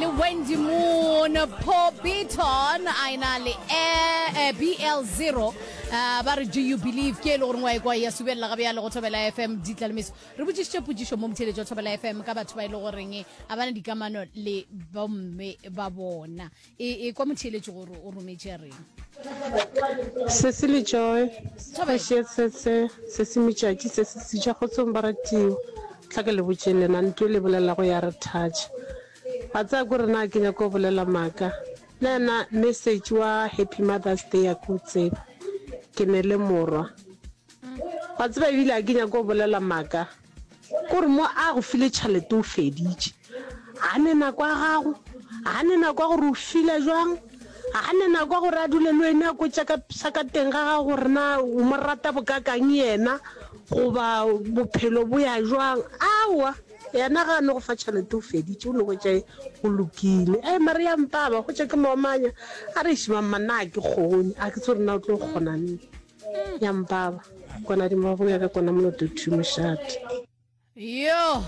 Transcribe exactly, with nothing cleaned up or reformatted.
le Wendy Moon, Paul Beaton a ena le eh, B L zero, uh, ba re "Do You Believe", ke e le gore ngwa e kwa ya subelela ga bjale go Thobela F M Ditlalemeso. Re botšišitše potšišo mo motheletšo wa Thobela F M ka batho ba e le goreng a bana dikamano le bomme ba bona. E, e kwa motheletšo gore o rometše reng. Sesi le Joy. Thobela. Kgoši sese se se metšatši se se sitša kgotsong baratiwa. Tla ke le botše lena ntho e le bolelago ya re touch. Wa tsaya ko rena ke nyaka go bolela maaka. Le yena message wa Happy Mother's Day a ke o tseba. Ke ne le morwa. Wa tseba ebile a ke nyaka go bolela maaka. Kore mo a go file tšhelete o feditše. A ne nako ya gago, a ne nako ya gore o fila jwang, a ne nako ya gore a dule le wena a kwetša ka sa ka teng ga gago gore na o mo rata bokakang yena goba bophelo bo ya jwang. Aowa, yena ga a no go fa tšhelete o feditše, o no hwetša go lokile. Ei mare ya mpaba, hwetša ke moomanya a re iši mamma nna a ke kgone, a ke tsebe gore na o tlo kgona neng. Ya mpaba, kona di mo go ya ka kona moloto thu mošate. Yo.